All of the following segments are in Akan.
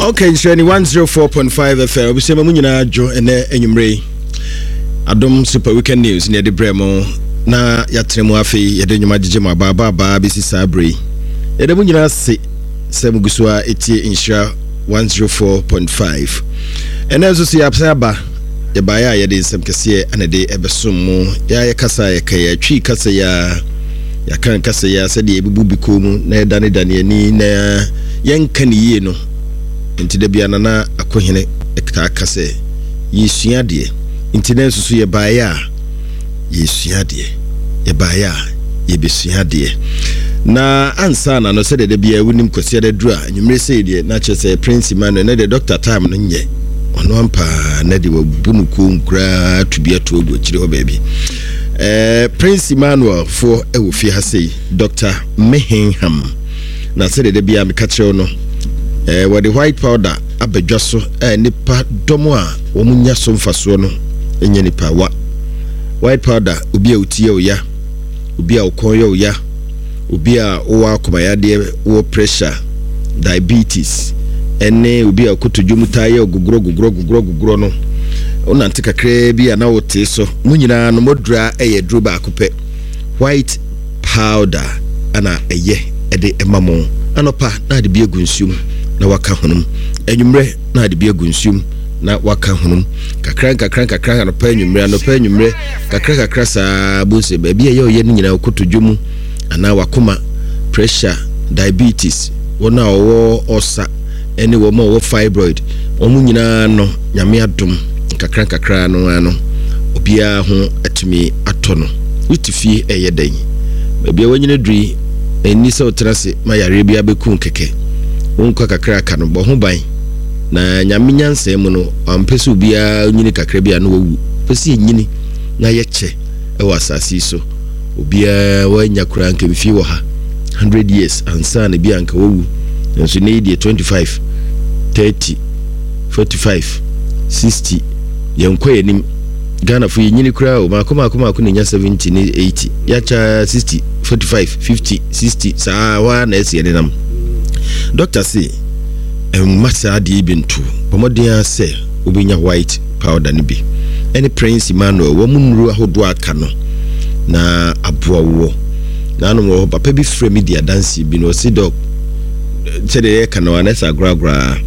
Okay, nhyira ni 104.5 FM. Obusua ma mu nyinaa dwo ɛnɛ anwummerɛ yi. Adom Super Weekend News ne yɛde brɛ mo na yɛatena mu afei yɛde nnwuma gyegye mo abaabaabaa bɛsi saa berɛ yi. Yɛda mu nyinaa ase sɛ mugu so a ɛtie nhyira 104.5. Ɛnɛ nso so yɛasan aba yɛbaeɛ a yɛde nsɛm kɛseɛ ana de ɛbɛsom mo. Yɛa yɛkasa a yɛka yɛatwi kasa yi a yɛaka kasa yi a sɛdeɛ yɛbubu bi kɔn mu na yɛdanedane ani na yɛnka ne yie no. Nti da bia Nana Akohene taa ka sɛ yɛresua adeɛ. Nti na nso so yɛbaeɛ a yɛresua adeɛ. Yɛbaeɛ a yɛbɛsua adeɛ. Na ansa na no sɛdeɛ da biara wonim Kwasiada duru a anwummere sei deɛ na kyerɛ sɛ Prince Emmanuel na deɛ Doctor time no nyɛ ɔno ampaa na deɛ wabu no kɔn koraa to bi ato agu akyire hɔ baabi. Eh, Prince Emmanuel foɔ wɔ fie ha sei, Doctor Mehenham. Na sɛdeɛ da biara meka kyerɛ wo no, eh, wɔde white powder aba dwa so a nnipa dɔm a wɔn nya so mfasoɔ no nyɛ nipa wa. White powder, obi a oti yɛ oya, obi a ɔkɔn yɛ oya, obi a wowɔ akomayadeɛ, wowɔ pressure, diabetes, ɛne obi a kotodwe mu taa yɛ ogogorɔ gogorɔ gogorɔ gogorɔ no, wonante kakraa bi a na wotee so. Mo nyinaa no modura yɛ aduro baako pɛ, white powder ana ɛyɛ de ma mo. Anɔpa na ade bi agu nsuo mu na waka honom. Anwummerɛ na ade bi agu nsuo mu na waka honom. Kakra nkakra nkakra anɔpa anwummerɛ anɔpa anwummerɛ kakra kakra saa bohu sɛ baabi a ɛyɛ ɔyɛ no nyinaa kotodwe mu anaa wakoma, pressure, diabetes, wɔn a wɔwɔ ɔsa ne wɔn a wɔwɔ fibroid, wɔn nyinaa no Nyame adom nkakra nkakra no ara no obiara ho atumi atɔ no. Wote fie ɛyɛ dɛn? Baabi a wanyini aduru yi, ɛnni sɛ wotena ase ma yareɛ bi abɛku wo kɛkɛ. Wo nkwa kakra a aka no, bɔ ho ban. Na Nyame nyansa mu no, wampɛ sɛ obiara nyini kakra bi a na wawu. Ɔpɛ sɛ yɛnyini na yɛkyɛ wɔ asase yi so. Obiara wanya koraa nka mfie wɔ ha 100 years ansa na bi a nka wawu. Nanso nnɛ yi deɛ 25, 30, 45, 60, yɛnkɔ yɛn anim. Ghanafo yɛnyini koraa o, maako maako maako na ɛnya 70 ne 80, yɛakyɛ 60, 45, 50, 60, saa hɔ ara na ɛsi yɛde nam. Dɔkta se mma saa adeɛ yi bi nto, bɔ mmɔden ara sɛ wobɛnya white powder no bi ɛne Prince Emmanuel wɔn nnuro ahodoɔ aka no na aboa woɔ. Nanom wɔ hɔ papa bi frɛ me di adanseɛ bi na ɔse dɔk sɛdeɛ yɛka no anɛ sɛ agoragoraa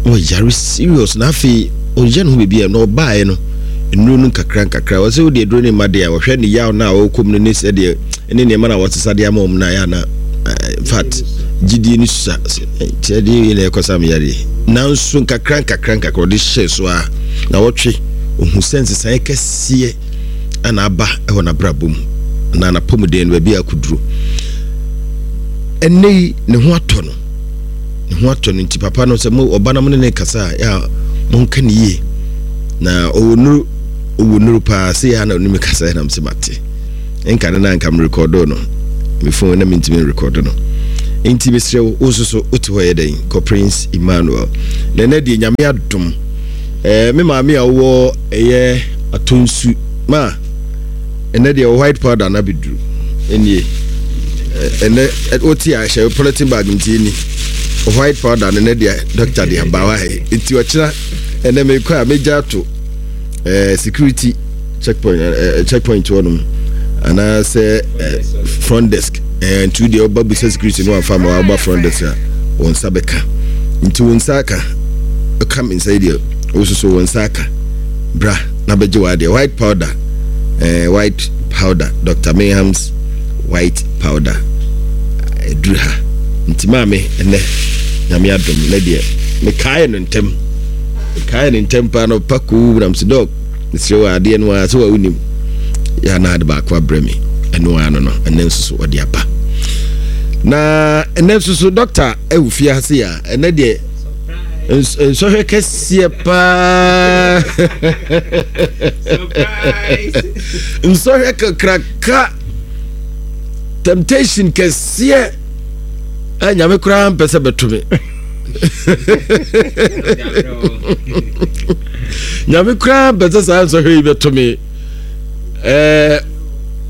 na ɔyare serious na afei ɔyɛ ne ho biribi a na ɔbaeɛ no nnuro no nkakra nkakra ɔsɛ wode aduro no mma deɛ a ɔhwɛ ne yaw no a ɔrekɔ mu no ne sɛdeɛ ne nneɛma no a wɔsesa de ama wɔn no ayɛ ana in fact gyidie no sua kyerɛ deɛ yɛ na ɛkɔ sa meyareɛ nanso nkakra nkakra nkakra ɔde hyɛ so a na wɔtwe ɔhu sɛ nsesaeɛ kɛseɛ ana aba wɔ n'abrabɔ mu anaa n'apɔmuden no baabi a akɔduro ɛnnɛ yi ne ho atɔ no ne ho atɔ no nti papa no sɛ mo ɔba na mo ne ne kasa a yɛ a monka ne yie na ɔwɔ nuru ɔwɔ nuru paa sɛ yɛ a na ɔne me kasa nam sɛ mate nka ne na nka merekɔdo no me phone na mentumi nrekɔdo no nti mesrɛ wo wo nso so wote hɔ yɛ dɛn kɔ Prince Emmanuel na ɛnɛ deɛ Nyame adom eh, me maame a wowɔ ɛyɛ atonsu ma ɛnɛ deɛ white powder na bɛduru ɛnie ɛnɛ wote a hyɛ polythene bag nti ɛni white powder no ɛnɛ deɛ doctor de aba wa nti ɔkyena ɛnɛ mekɔ a mɛgya ato eh, security checkpoint eh, eh checkpoint hɔ nom anaasɛ eh, front desk eh, nti deɛ ɔba bisa security no afa ma waba front desk a wɔn nsa bɛka nti wɔn nsa aka ɛka me nsa yi deɛ wososo wɔn nsa aka bra na bɛgye wɔ adeɛ white powder eh, white powder Dr. Mayham's white powder ɛduru ha nti maame ɛnɛ nyame adom ne deɛ mekaeɛ no ntɛm mekaeɛ no ntɛm paa no pa koo nam sɛ dɔg mesrɛ wɔ adeɛ no ara sɛ wa wonim yɛ na ade baako abrɛ me ɛno ara no no ɛnɛ nso so ɔde aba na ɛnɛ nso so dɔkta ɛwɔ fie ase a ɛnɛ deɛ nsɔhwɛ kɛseɛ paa nsɔhwɛ kakraka temptation kɛseɛ a nyame koraa mpɛ sɛ bɛto me nyame koraa mpɛ sɛ saa nsɔhwɛ yi bɛto me ɛɛ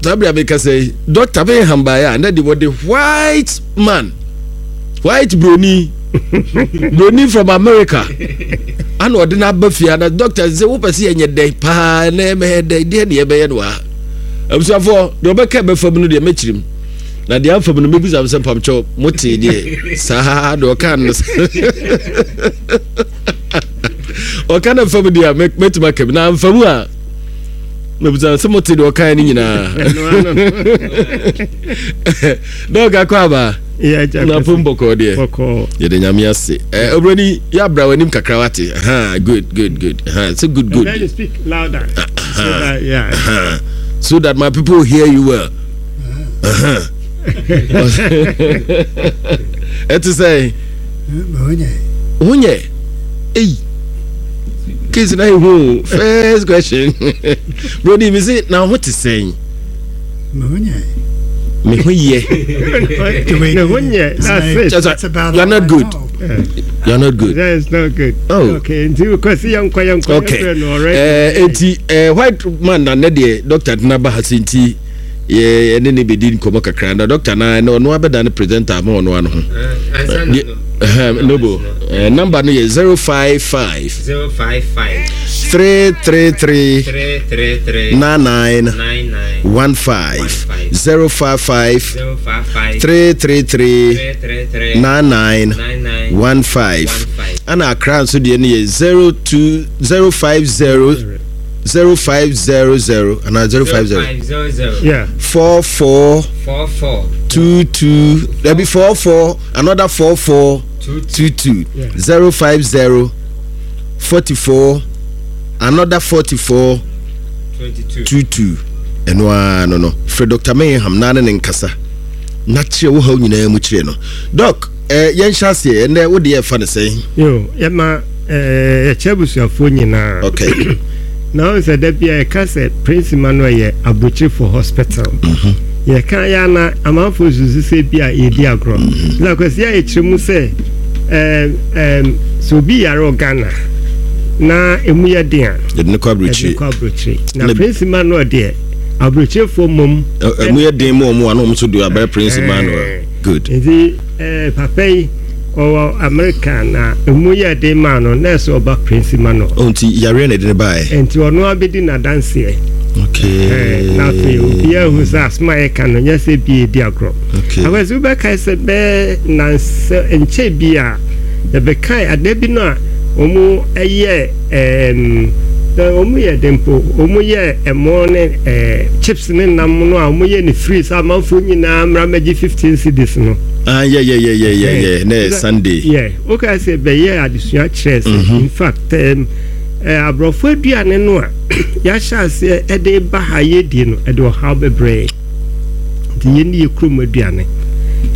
saa bere a meka sɛ yi dɔkta bɛyɛ hambaeɛ a na de wɔde white man. White broni broni from America ana ɔde no aba fie ana doctor sɛ wopɛ sɛ yɛnyɛ dɛn paa na ɛmɛyɛ dɛn deɛ ne yɛbɛyɛ no ha. Abusuafoɔ deɛ ɔbɛka ɛbɛfa mu no deɛ mɛkyerɛ mu na deɛ amfa mu no mɛbisa m sɛ mpamkyɛw motee deɛ saa deɛ ɔka no ɔka no mfa mu deɛ a mɛtumi aka bi na amfa mu a mɛbisa sɛ mote deɛ ɔkae no nyinaa. Dɔk akɔ aba na pom bɔkɔɔ deɛ yɛde Nyame ase. Obroni yɛ abra w'anim kakra wate. Good, good, good. Sɛ good, good. And then you speak louder. So that, yeah. So that my people hear you well. Ɛte sɛ ho nyɛ ei case na ehu first question. Broni mi se na ho te sɛn? Me ho yɛ. Me ho nyɛ. That's it. You are not good. You are not good. That is not good. Oh. Okay. Nti kwasi yɛn kɔ yɛn kɔ. Okay. Ɛɛ eti ɛɛ white man na ne deɛ doctor tena ba ha si nti yɛ ɛne ne bedi nkɔmɔ kakra na doctor na ɛna ɔno abɛda ne presenter ama ɔno ano ho. Nobo number no yɛ 055. 055. 333. 333. 99. 99. 15. 055. 055. 333. 333. 99. 99. 15. 15. Ana Accra nso deɛ no yɛ 02 050 0500 anaa 050 0500. Yeah. 44 44. 22 dabi 44 another 44 22. 22 Yeah. 050 44 another 44 22. 22. Ɛno ara no frɛ Dr. Mayham na ne ne nkasa na kyerɛ wo haw nyinaa mu kyerɛ no. Doc, yɛnhyɛ aseɛ ɛnɛ wo deɛ ɛfa ne sɛn? Yo, yɛma yɛkyɛ abusuafoɔ nyinaa. Okay. Na wɔn sɛ da bi a yɛka sɛ Prince Emmanuel yɛ aburokyirefo hospital. Yɛka yɛ ana amanfoɔ susu sɛ bi a yɛdi agorɔ. Na kwasi a yɛkyerɛ mu sɛ sɛ obi yare wɔ Ghana na emu yɛ den a, yɛde ne kɔ yɛde aburokyire. kɔ aburokyire. Na Prince Emmanuel deɛ aburokyirefoɔ mmom. Ɛmu yɛ den mu ɔmo a na ɔmo nso de abɛyɛ Prince Emmanuel. Good. Nti papa yi ɔwɔ America na emu yɛ den maa no na ɛsɛ ɔba Prince Emmanuel. Oh, nti yareɛ na ɛde ne baeɛ. Nti ɔno abɛdi n'adanseɛ. Okay. Na afei obiara hu sɛ asɛm a yɛka no nyɛ sɛ bi edi agorɔ. Okay. Afei wobɛkae sɛ bɛɛ nansɛ nkyɛ bi a yɛbɛkae ada bi no a wɔn yɛ wɔn yɛ den po wɔn yɛ ɛmo ne chips ne nam no a wɔn yɛ ne free sɛ amanfoɔ nyinaa mmra mmɛgye 15 cedis no. Ah, yeah, yeah, yeah, yeah, yeah, yeah. Na yɛ Sunday. Yeah, wokae sɛ bɛyɛ adesua kyerɛ sɛ in fact aborɔfo aduane no a yɛahyɛ aseɛ ɛde ba ha yɛdie no ɛde ɔhaw bebree nti yɛnni yɛ kurom aduane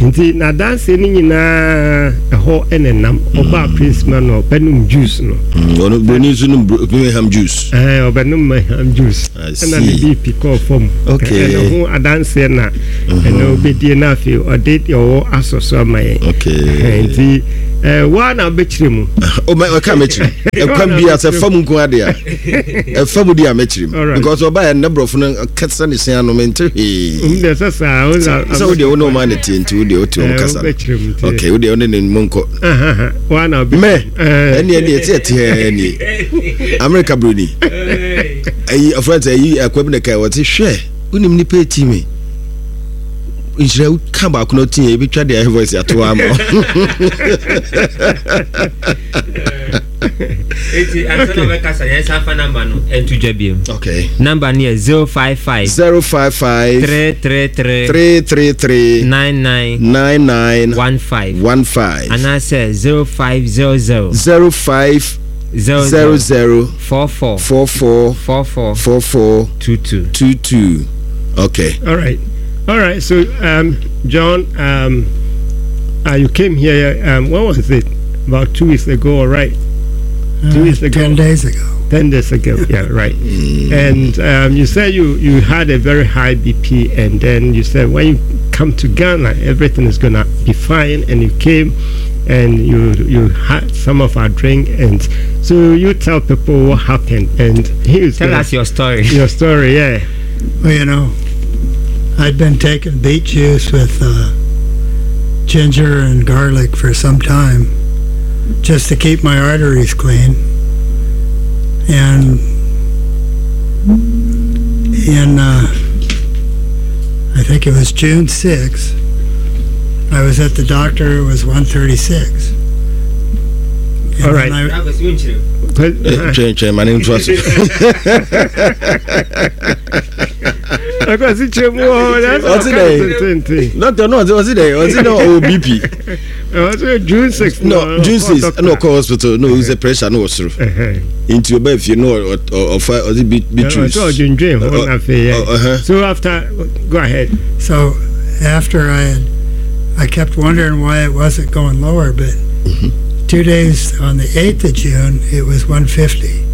nti n'adanseɛ no nyinaa ɛhɔ ɛna nam ɔbaa Prince Emmanuel ɔbɛnom juice no. Ɔno broni nso nom Birmingham juice. Ɛɛ ɔbɛnom Birmingham juice. I ɛna ne see. BP kɔɔ fam. Okay. Ɛna ho adanseɛ na ɛna ɔbɛdie na afei ɔde deɛ ɔwɔ asɔ so ama yɛn. Okay. Nti waa na wobɛkyerɛ mu. O mɛ ɔka mɛkyerɛ ɛkwan bi a sɛ fa mu nko ade a ɛfa mu di a mɛkyerɛ mu Alright. because ɔba yɛ ne borɔfo no kasa ne se ano mente hwee. Deɛ sɛ saa wo na sɛ wodeɛ wo ne ɔma ne te nti wodeɛ wote ɔm kasa no. Wobɛkyerɛ mu nti. Okay, wodeɛ wo ne ne mu nkɔ. Waa na wobɛkyerɛ Mɛ mu. ɛne ɛne ɛte ɛte ɛne America broni ɛyi ɔfrɛ sɛ ɛyi akwa bi na ka wɔte hwɛ wonim nipa eti mi nhyira ka baako na ɔte yɛ ebitwa deɛ voice ato ama wo. Eti ansa na ɔbɛkasa yɛn nsa fa number no ɛnto dwa biem. Okay. Number no yɛ 055 055 333 333 99 99 15 15 anaasɛ 0500 05 00 00 44 44 44 44 22. 22. Okay. All right. All right. So, John, you came here, when was it? About 2 weeks ago, all right? 2 weeks ago. 10 days ago. 10 days ago, yeah, right. And you said you had a very high BP, and then you said when you come to Ghana, everything is going to be fine, and you came and you had some of our drink, and so you tell people what happened, and he was Tell gonna us your story. Your story, yeah. Well, you know, I'd been taking beet juice with ginger and garlic for some time just to keep my arteries clean. And in, I think it was June 6th, I was at the doctor, it was 136. And All right. then I- Twɛn twɛn ma ne ntoa so. Akwasi kyerɛ mu wɔ hɔ. Ɔte dɛ? Doctor no ɔte ɔte dɛ ɔte dɛ ɔwɔ BP. Ɔte June 6. No, June 6 ɛna ɔkɔ hospital na ohu sɛ pressure no wɔ soro. Nti ɔba fie no ɔfa ɔde beetroot. Ɔsɛ ɔdwendwen ho na afei yɛ. So after, go ahead. So after I had, I kept wondering why it wasn't going lower, but 2 days on the 8th of June, it was 150.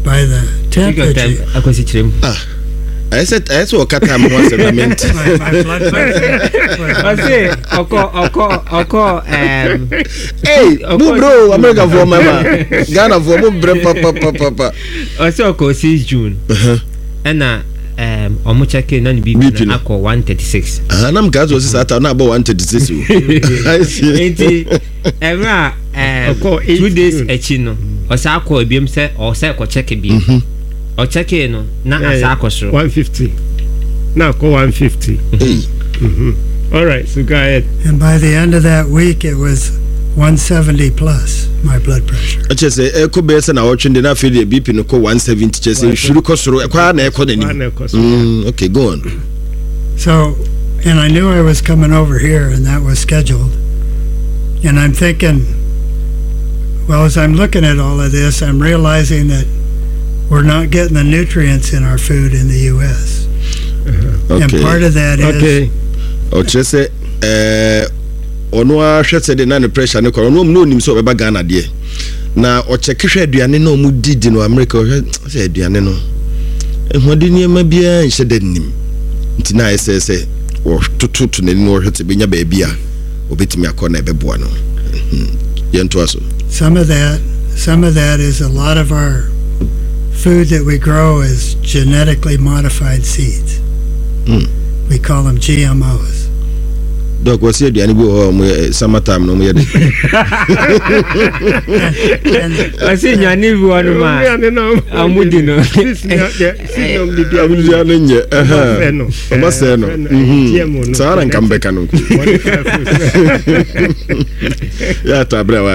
By the 10th of June, Akwasi kyerɛ mu. Ɛyɛ sɛ ɔka time ho asɛm na mente. my blood pressure was Ɔse ɔkɔ Hey, mo bro, America foɔ mama, Ghana foɔ mo brɛ papapapapa. Ɔsɛ ɔkɔ 6 June ɛna ɔmo check na ne BP BP no no. akɔ 136. Ah, nam kaa sɛ ɔsi saa ta na abɔ 136 o. I see. Nti ɛmɛ a Ɔkɔɔ 8 2 days June. akyi no, ɔsan akɔ ebiem sɛ ɔsɛ kɔ check biem. Ɔcheck no na asa akɔ soro. 150. Na akɔ 150. Hey. All right, so go ahead. And by the end of that week, it was 170 plus, my blood pressure. Ɛkyɛ sɛ ɛkɔ bɛyɛ sɛ na ɔtwe de na afei deɛ BP no kɔ 170, kyɛ sɛ nhwiri kɔ soro, ɛkɔ ara na ɛkɔ Kɔ ara na n'anim. ɛkɔ soro. Okay, go on. So, and I knew I was coming over here, and that was scheduled. And I'm thinking, well, as I'm looking at all of this, I'm realizing that we're not getting the nutrients in our food in the U.S. And part of that is Ɔkyerɛ sɛ ɔno ara hwɛ sɛ de na ne pressure ne kɔ, ɔno ɔmu na onim sɛ ɔbɛba Ghana deɛ, na ɔkyɛke hwɛ aduane na ɔmu di di no America, ɔhwɛ sɛ aduane no ɛhoɔden nneɛma biara nhyɛ da nim, nti na ayɛ sɛ wɔtototo n'ani na wɔhwɛ sɛ bɛnya baabi a ɔbɛtumi akɔ na ɛbɛboa no. Yɛntoa so. Some of that is a lot of our food that we grow is genetically modified seeds. We call them GMOs. Doc, wɔsi aduane bi wɔ hɔ a ɔmo yɛ summer time na ɔmo yɛ de. And Ɔse nnuane bi wɔ no ma Nnuane no ɔmo di no. Ɔmo di ano nyɛ. Ɔmo no. Ɔmo asɛe no. GMO no. Saa na nka mbɛka no. Modified food. Yɛ ata abirɛ wa.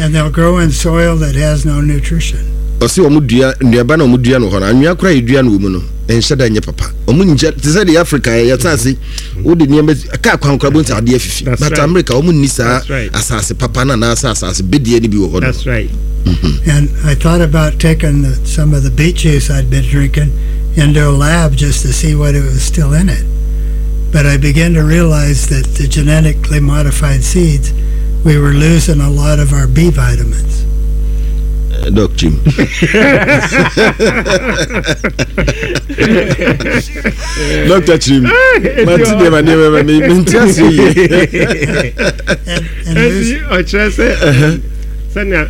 And they'll grow in soil that has no nutrition. Ɔsi ɔmo dua nnuaba na ɔmo dua no hɔ no, anwea koraa yɛ dua no wɔ mu no, ɛnhyɛ da nyɛ papa. Ɔmo nkyɛ te sɛ deɛ Africa yɛ asase wode nneɛma kaa kwan koraa bɔ nti adeɛ afifi, That's but America ɔmo nni saa That's right. asase papa no anaasɛ asase bedeɛ no bi wɔ hɔ no. That's right. And I thought about taking some of the beet juice I'd been drinking into a lab just to see what it was still in it. But I began to realize that the genetically modified seeds, we were losing a lot of our B vitamins. Doc Jim. Dr. Jim. Mate deɛ ma nneɛma ma mente aseɛ yie. And Ɛnti ɔkyerɛ sɛ sɛnea